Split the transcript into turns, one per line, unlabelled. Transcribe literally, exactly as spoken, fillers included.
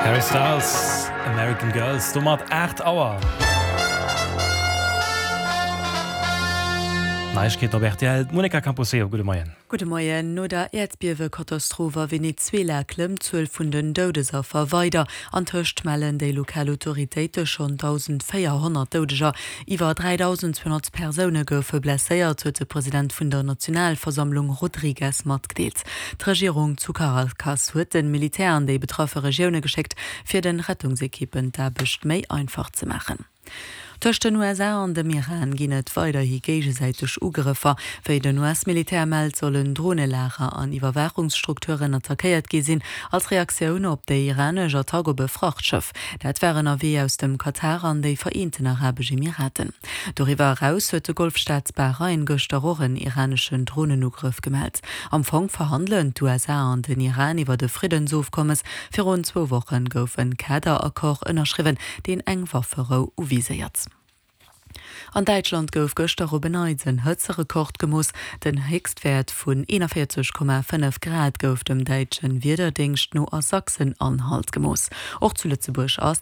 Harry Styles, American Girls, domat aacht Auer. Neiegkeeten op rtl, d'Monica Camposeo, gudde Moien.
Gudde Moien. No der Äerdbiewekatastroph a Venezuela klëmmt d'Zuel vun den Doudesaffer weider. Antëscht mellen déi lokal Autoritéite schonn dausendvéierhonnert Doudeger. Iwwer dräidausendzweehonnert Persoune goufe blesséiert, huet de President vun der Nationalversammlung Rodriguez matgedeelt. D'Regierung zu Caracas huet de Militär an déi betraffe Regioune geschéckt, fir de Rettungsekippen d'Aarbecht méi einfach ze maachen. Tëscht den U S A an dem Iran ginn et weiderhi géigesäiteg Ugrëffer. Wéi den U S-Militär mellt, sollen Dronelager an Iwwerwaachungsstrukturen attackéiert gi sinn, als Reaktioun op déi iranesch Attack op e Frachtschëff. Dat war ënnerwee aus dem Katar an déi Vereenten Arabesch Emiraten. Doriwwer eraus huet de Golfstaat Bahrain gëschter och en iraneschen Dronenugrëff gemellt. Am Fong verhandelen d'U S A an den Iran iwwer e Friddensofkommes. Virun zwou Woche gouf en Kaderaccord ënnerschriwwen, deen eng Wafferou uviséiert. An Däitschland gouf gëschter op en Neits en Hëtzerekord gemooss. Den Héchstwäert vun eenanvéierzeg Komma fënnef Grad gouf dem däitsche Wiederdéngscht no a Sachsen-Anhalt gemooss. Och zu Lëtzebuerg ass.